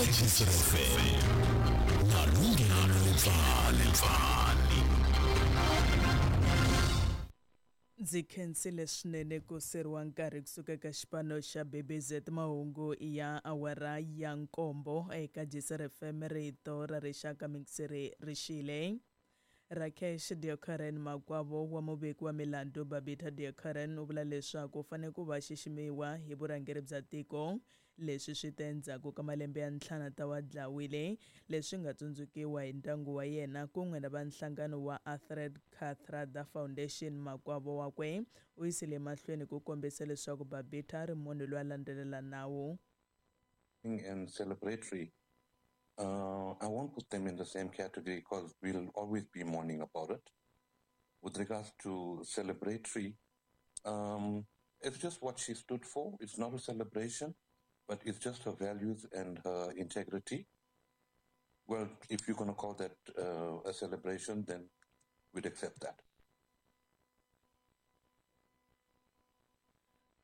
Eka Jisr FM na Lunghelo Lepfani. Ndzi khensile swinene ku seriwa nkarhi kusuka eka xipano xa BBZ mahungu ya awara ya nkombo eka Jisr FM rito ra rixaka mingiseri rixile. Rakesh Deokaran makwavo wa muveki wa milandzu Babita Deokaran u vula leswaku u fanele ku va xiximiwa hi vurhangeri bya tiko. Leswi swi te endzhaku ka malembe ya ntlhanu ta wa dlawile leswi nga tsundzukiwa hi ndyangu wa yena kun'we na va nhlangano wa Alfred Kathrada Foundation. Makwavo wakwe u yisile emahlweni ku kombisa leswaku Babita a ri munhu loyi a landzelela nawu. And celebratory, I won't put them in the same category because we'll always be mourning about it. With regards to celebratory, it's just what she stood for. It's not a celebration, but it's just her values and her integrity. Well, if you're going to call that a celebration, then we'd accept that.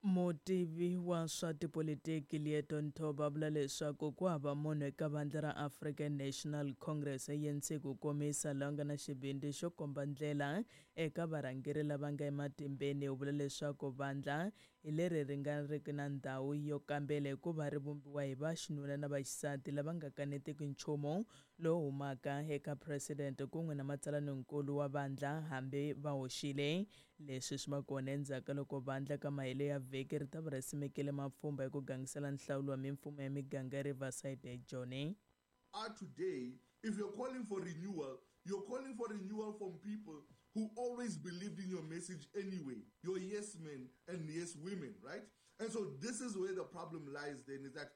Mutivi wa swa tipolitiki Leeto Nthoba vula leswaku ku hava munhu eka vandla ra African National Congress ANC ku komisa laha nga na xivindzi xo komba ndlela eka varhangeri lava nga ematimbeni. U vula leswaku vandla hi leri ri nga riki na ndhawu yo kambela hikuva ri vumbiwa hi vaxinuna na vaxisati lava nga kanetiki nchumu lowu humaka eka president kun'we na matsalaninkulu wa vandla hambi va hoxile. Leswi swi va kona endzhaku ka loko vandla ka mahelo ya vhiki ri ta va ri simekile mapfhumba hi ku gangisela nhlawulo wa mimfumo ya miganga ya Riverside eJoni. Are today, if you're calling for renewal, you're calling for renewal from people who always believed in your message anyway, your yes men and yes women, right? And so this is where the problem lies then, is that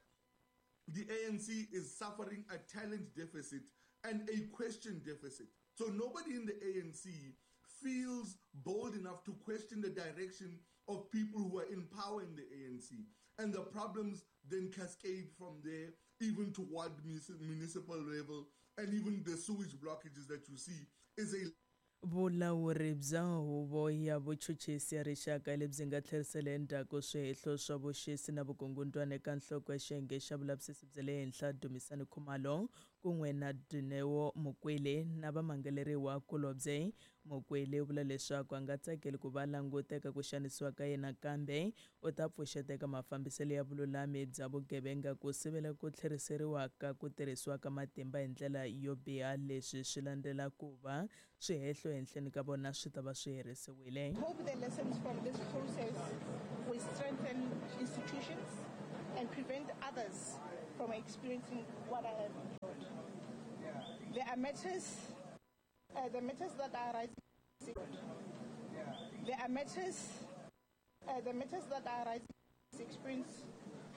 the ANC is suffering a talent deficit and a question deficit. So nobody in the ANC feels bold enough to question the direction of people who are in power in the ANC. And the problems then cascade from there, even toward municipal level, and even the sewage blockages that you see is a Vulawuri bya huvo ya vuchuchisi ya rixaka lebyi nga tlherisela endzhaku swihehlo swa vuxisi na vukungundzwana eka nhloko ya xiyenge xa vulavisisi bya le henhla Dumisani Khumalo kun'we na Dineo Mokwele na vamangaleriwa kulobye. Mokwele u vula leswaku a nga tsakeli ku va languteka ku xanisiwa ka yena kambe u ta pfuxeteka mafambiselo ya vululami bya vugevenga ku sivela ku tlheriseriwa ka ku tirhisiwa ka matimba hi ndlela yo biha. Leswi swi landzela ku va swihehlo ehenhleni ka vona swi ta va swi herisiwile. Hope the lessons from this process will strengthen institutions and prevent others from experiencing what I have endured. There are matters, the matters that are rising. There are matters, the matters that are rising experience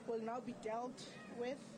will now be dealt with.